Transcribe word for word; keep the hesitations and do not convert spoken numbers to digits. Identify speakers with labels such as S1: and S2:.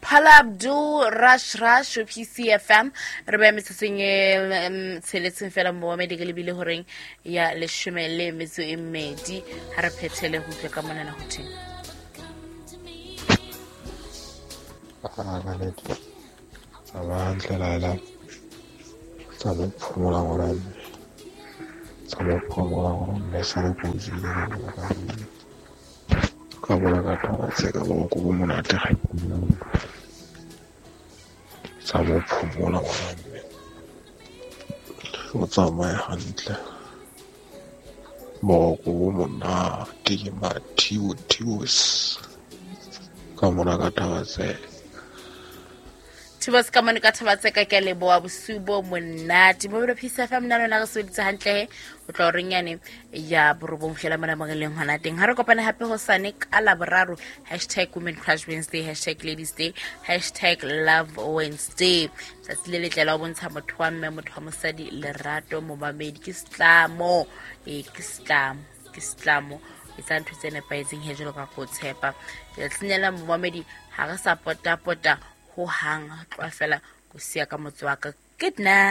S1: Paula Abdul Rush Rush ho P C F M. Re beha metsotsong e mm, tsheletseng fela momamedi ke lebile horeng ya leshome le metso e mmedi. Ha re phethele ho utlwa ka monana ho thweng.
S2: Ah, ka nnete. Tsamaya hantle Laila. Tsamaya o phomola ngwana mme. Tsamaya o phomola ngwana mme, sale ko o jele ka mona ka nnete. Ka mona ka taba tse ka boroko bo monate ga ke bona. Tsamaya o phomola ngwana mme. O tsamaye hantle. Boroko bo monate ke mathibo thibos. Ka mona ka taba tse.
S1: Thibos ka mona ka taba tse ka ke a leboha bosiu bo monate. Mobile P C F M nna lona re sebeditse hantle he. Ho tloha horeng yane ya borobong fela mona mo re leng hona teng. Ha re kopane hape hosane ka Laboraro, hashtag Women Crush Wednesday, hashtag Ladies Day, hashtag Love Wednesday. Tsatsi le letle la ho bontsha motho wa mme, motho wa mosadi lerato, momamedi. Ke setlamo. Ee, ke setlamo, ke setlamo. Etsa ntho tse nepahetseng he jwalo ka ko tshepa. Letsatsing lena momamedi ha re sa pota-pota ho hang, tloha fela ko siya ka motse wa ka. Good night.